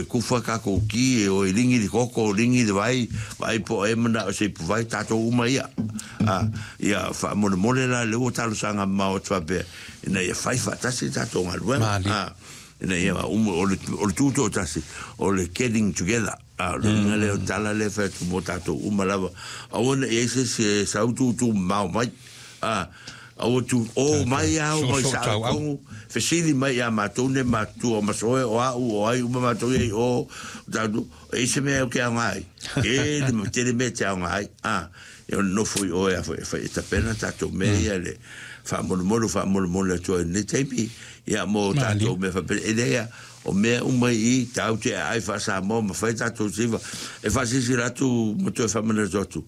e kufa tatou ki, e o e ligi le koko, ligi le vai, vaai po o ai e manao i se ipuvai, tatou uma ia. A, ia faamolemole la lea ua talosaga mamao atu faapea, ina ia fai faatasi le tatou galuega. A, ina ia uma, o le, o le tutoatasi, o le getting together. A o le uiga lea o le tala lea e fai atu mo tatou uma lava, aua ne i i ai se isi e sau tūtū mamao mai. A, aua tu, o mai a, o mai sao i tonu, fesili mai ia matou nei matutua o Masoe, o au, o ai uma matou ia i o, o tatou, e i ai se mea ou te aoga ai. Tele, tele mea e te aoga ai. A, e ono nofo i o e a foi, e fai e tapena tatou mea ia le faamolemole, faamolemole atu ai i lenei taimi, ia mo tatou mea faapena. E leai a, O mea uma i i, tāu te aai faa-Samoa ma fai tātou siva, e faasilasila atu ma toe faamanatu atu,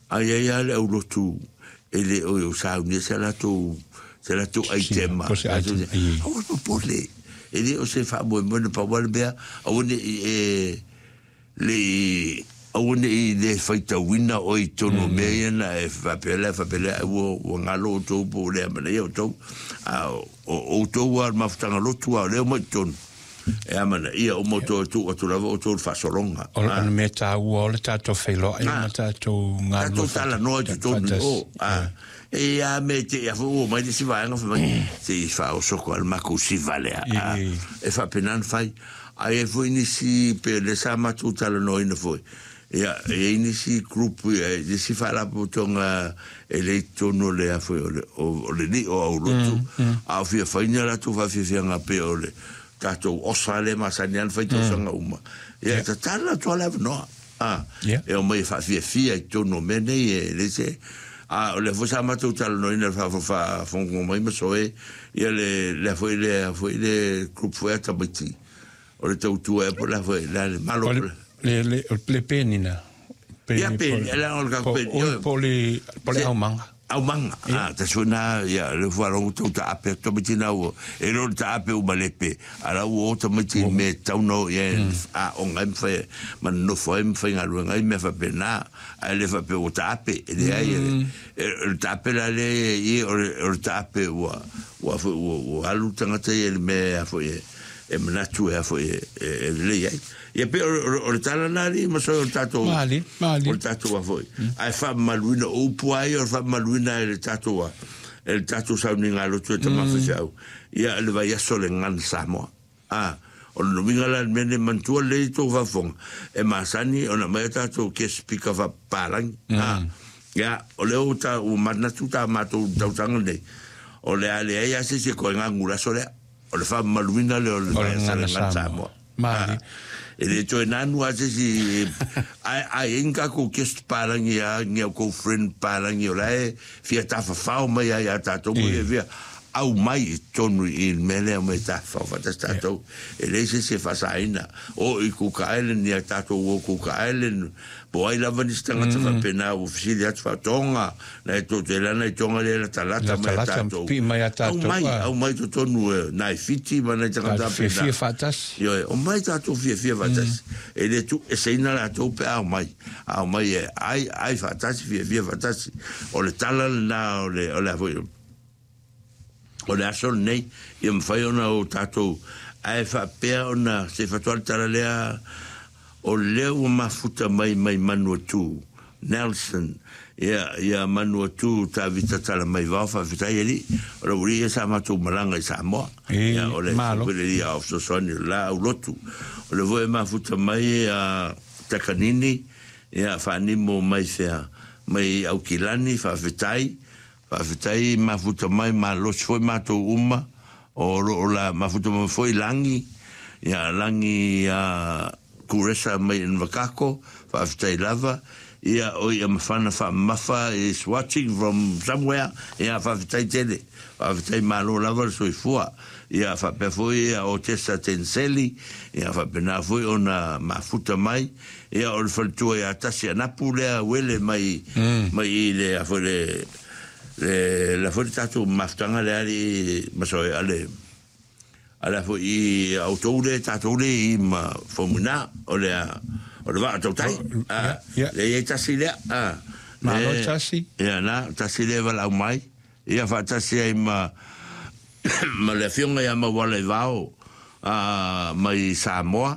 a i ai lava le aulotu e le o i o saunia se latou, se latou aitema, aua le popole, e le o se faamoemoe na pau lava le mea, aua ne i e, le i, aua ne i le faitauina oe i totonu o mea ia na e faapea lea, faapea lea, ai ua, ua galo outou po ua le amanaia outou. A o outou lava o le mafutaga lotu lava o lea e omai i totonu, e amanaia uma outou e tuu atu lava outou i le faasologa. O le mea taua o le tatou feiloai ma tatou galulue faatasi. Tatou talanoa i totonu i o. E i a mea te i a foi ua omai le isi vaega fai mai, se i faaosoko lava le matou siva lea. E faapena ona fai. A i ai foi nisi, pei o lea sa matou talanoaina foi, ia, e i ai nisi group, nisi faalapotopotoga e le i totonu o le, a foi, o le, o le lii o aulotu, a o fia fai ni a latou faafiafiaga pei o le tatou osa lea e masani lava ona fai tausaga uma, ia, e tatala atu lava le avanoa, a, e omai e faafiafia i totonu o mea nei, e leai se, a o lea foi sa matou talanoaina i le faafogafoga mai ma Soe, Ia le lea foi le foi le group foi a tamaiti o le tautua ea po o le a foi le a le malo po le le le le penina Ia peni le o le ka peni po le po le aumaga aumaga a ta foi na ia le faalogo tau taape atu tamaiti na ua e le o le taape uma lepe a la ua o tamaiti i mea e tatau ona o i ai aoga ai ma fai ma nonofo ai ma faigaluega ai mea faapena ae le faapea ua taape e leai O le taape la lea e i, o le taape ua, ua, foi, ua, ua alu le tagata ia i le mea a foi e, e manatu e a foi e, e, e lelei ai. Ia pei o, o, o le tala lena alii ma soe o le tatou, Malie, malie. o le tatou a foi. Ae faamamaluina, o upu lava ia o le faamamaluina e le tatou a, e le tatou sauniga lotu e tama faifeau. Ia le vaiaso o le Gagana Samoa. A, o lona uiga la i le mea lenei, manatua lelei le tou faafofoga, e masani ona aumai a tatou guest speaker faapapalagi, a, ia, o lea ua ta, ua manatu ta matou i le tausaga lenei, o le a leai lava se isi e toe gagu i le aso lea, o le faamamaluina lea o le O le Gagana Samoa. A, e le toe nanu lava se isi, ae a i ai ni tatou guest palagi a, ni a outou friend palagi o la e fia tafafao mai lava ia tatou ma fia aumai i totonu i le mea lea aumai e tafafao faatasi tatou. E leai se isi e faasaina. O i Cook Island ia tatou o Cook Island, po o ai lava nisi tagata faapena ua fesili atu faatoga, na e tou te lana i Tonga lea e latalata mai a tatou. Pii mai a tatou. Aumai, aumai totonu e nai Fiti ma nai tagata faapena. Fiafia faatasi. Ioe, omai tatou fiafia faatasi. E le tuueseina latou pe a omai. A omai e ai, ai faatasi, fiafia faatasi. O le tala lena o le, o le a foi, o le aso lenei, ia mafai ona o tatou, ae faapea ona, se i faatoa le tala lea, o lea ua mafuta mai mai Manuatu, Nelson, ia, ia Manuatu Tavita Talamaivao, faafetai alii, o le aualii ia sa matou malaga i Samoa, ia, o le Malo. foi le alii ao fesoasoani o le la aulotu, o lea foi e mafuta mai a Takanini, ia, Faanimo mai fea, mai Aukilani, faafetai, Faafetai mafuta mai malosi foi matou uma o lo o la mafuta mai foi Lagi ia Lagi ia Kuresa mai Invercargill faafetai lava ia o ia mafana faamamafa is watching from somewhere ia faafetai tele faafetai malo lava le soifua ia faapea foi ia Otesa Tenseli ia faapena foi ona mafuta mai Ia, o le faletua ia Tasi Anapu lea uele mai, mai i le, a foi le, le, le a foi le tatou mafutaga lea alii Masoe, a le, a le a foi i a outou lea, tatou lea i ma Faumuina, o le a, o le vaa tautai, a, lea i ai Tasi lea, a. Malo Tasi. Ia, na, Tasi lea e valaau mai, ia faatasi ai ma, ma le afioga ia Mauala Ivao, a, mai Samoa.